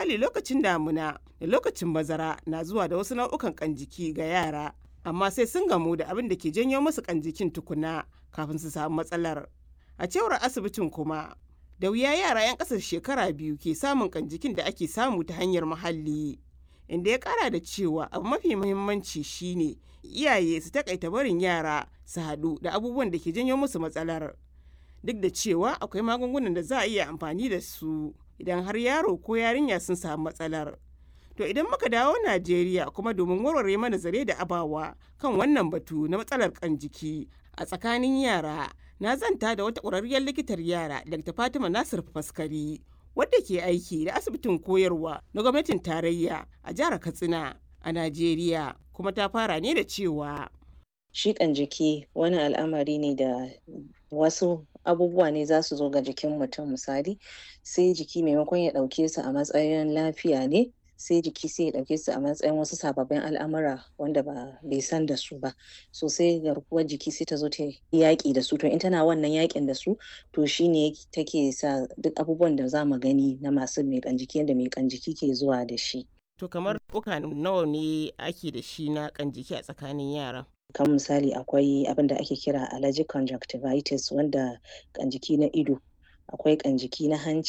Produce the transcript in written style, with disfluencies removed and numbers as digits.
Misali, lokacin damuna da lokacin bazara na zuwa da wasu nau'ukan ƙan-jiki ga yara, amma sai sun gamu da abin da ke janyo musu ƙan-jikin tukuna kafin su samu matsalar. A cewar asibitin kuma, da wuya yara 'yan ƙasa da shekara 2 ke samun ƙan-jikin da ake samu ta hanyar muhalli, inda ya ƙara da cewa abu mafi muhimmanci shi ne iyaye su taƙaita barin yara su haɗu da abubuwan da ke janyo musu matsalar, duk da cewa akwai magungunan da za a iya amfani da su idan har yaro ko yarinya sun samu matsalar. To idan muka dawo Najeriya kuma, domin warware mana zare da abawa kan wannan batu na matsalar ƙan-jiki a tsakanin yara, na zanta da wata ƙwararriyar likitar yara, Dr. Fatima Nasir Faskari, wadda ke aiki da asibitin koyarwa na gwamnatin tarayya a jihar Katsina a Najeriya, kuma ta fara ne da cewa: Shi ƙan-jiki wani al'amari ne da wasu abubuwa ne za su zo ga jikin mutum. Misali, sai jiki maimakon ya ɗauke su a matsayin lafiya ne, sai jiki sai ya ɗauke su a matsayin wasu sababbin al'amura wanda ba bai san da su ba. So sai garkuwar jiki sai ta zo ta yaƙi da su. To in tana wannan yaƙin da su, to shine take sa duk abubuwan da za mu gani na masu mai ƙan-jiki, yanda mai ƙan-jiki ke zuwa da shi. To kamar nau'uka nawa ne ake da shi na ƙan-jiki a tsakanin yara? Kamar misali, akwai abin da ake kira allergic conjunctivitis, wanda ƙan-jiki na ido, akwai ƙan-jiki na hanci.